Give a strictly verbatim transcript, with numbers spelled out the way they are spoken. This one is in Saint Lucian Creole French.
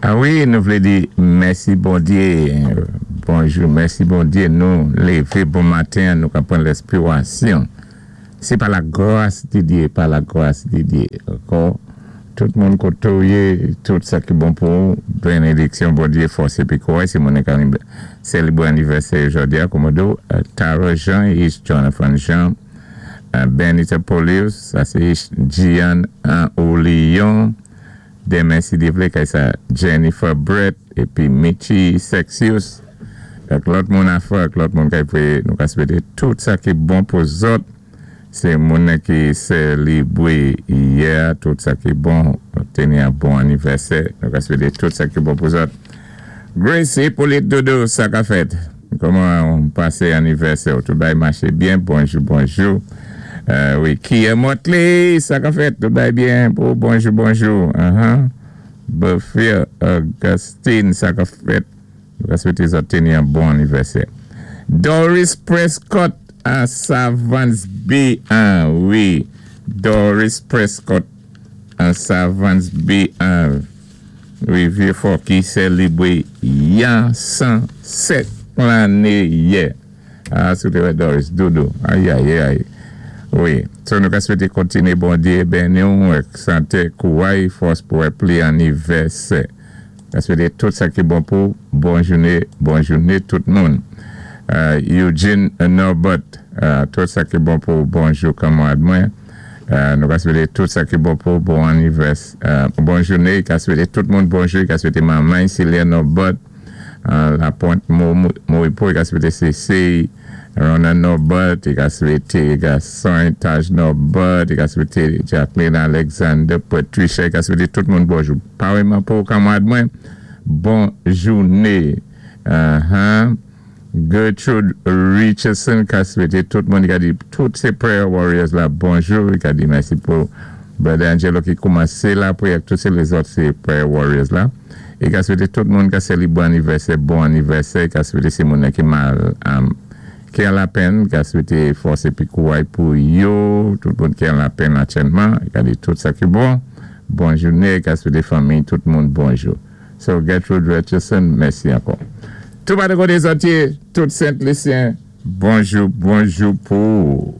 A wi, nou vlé di mèsi Bondyé. Bonjou, mèsi Bondyé. Nou lévé bon maten, nou ka pran lèspirasyon. Sé pa la gras di Dyé, pa la gras di Dyé. Ankò, tout moun koté ou yé, tout sa ki bon pou ou, bénédiksyon Bondyé, fòs épi kouray, sé moun ki sélébwé anivèsè jòdi a, kòmòdo, Tara Jean, Ish Jonathan Jean, Benita Polius, sa sé Ish Gian Olion, denmen si Dye vlé, kay sa Jennifer Brett, épi Michi Sexius, ak lòt moun afè, ak lòt moun kay pwé, nou ka swété tout sa ki bon pou zòt, sé moun ki sélébwé yè, tout sa ki bon, téni an bon anivèsè, nou ka swété tout sa ki bon pou zòt. Grace Hippolyte Dodo, sa ka fèt? Kòman ou pasé anivèsè? Tout bagay maché byen? Bonjou, bonjou. Euh, wi, Kia Motley, sa ka fèt? Tout bagay byen pou bonjou, bonjou. Uh-huh. Buffy Augustine, sa ka fèt? Nou ka swété zòt téni an bon anivèsè. Doris Prescott à Savants B un, wi. Doris Prescott à Savants B un. Wi, Vieux-Fort ki sélébwé yan san sèt lanné yè. Ah, si ou Doris, doudou. Ayi, ayi, ayi. Wi, so nou ka swété kontiné Bondyé béni ou ak santé, kouray, fòs pou pli anivèsè. Ka swété tout sa ki bon pou bon jouné, bon jouné tout moun. Euh, Eugene Norbert, euh, tout sa ki bon pou bonjou kanmarad mwen. Euh, nou ka swété tout sa ki bon pou bon anivèsè, euh, bon jouné, ka swété tout moun bonjou, ka swété manman Celia Norbert, euh, La Pointe Moripo, ka swété C C, Rona Norbert, i ka swété gason Taj Norbert, i ka swété Jacqueline Alexander, Patricia, i ka swété tout moun bonjou. Paréyman pou kanmarad mwen, bon jouné. Uh-huh. Gertrude Richardson ka swété tout moun, i ka di tout sé prayer warriors la bonjou, i ka di mèsi pou Brother Angelo ki koumansé la pwiyè, tout sé lézòt sé prayer warriors la. I ka swété tout moun ka sélébwé anivèsè, bon anivèsè, i ka swété sé moun ki mal, um, ki an lapenn, ka swété fòs épi kouray pou yo, tout moun ki an lapenn aktyèlman, i ka di tout sa ki bon, bon jouné, ka swété fanmi, tout moun bonjou. So Gertrude Richardson, mèsi ankò. Tout pa de koté zòt yé, tout Sent Lisyen, bonjou, bonjou pou.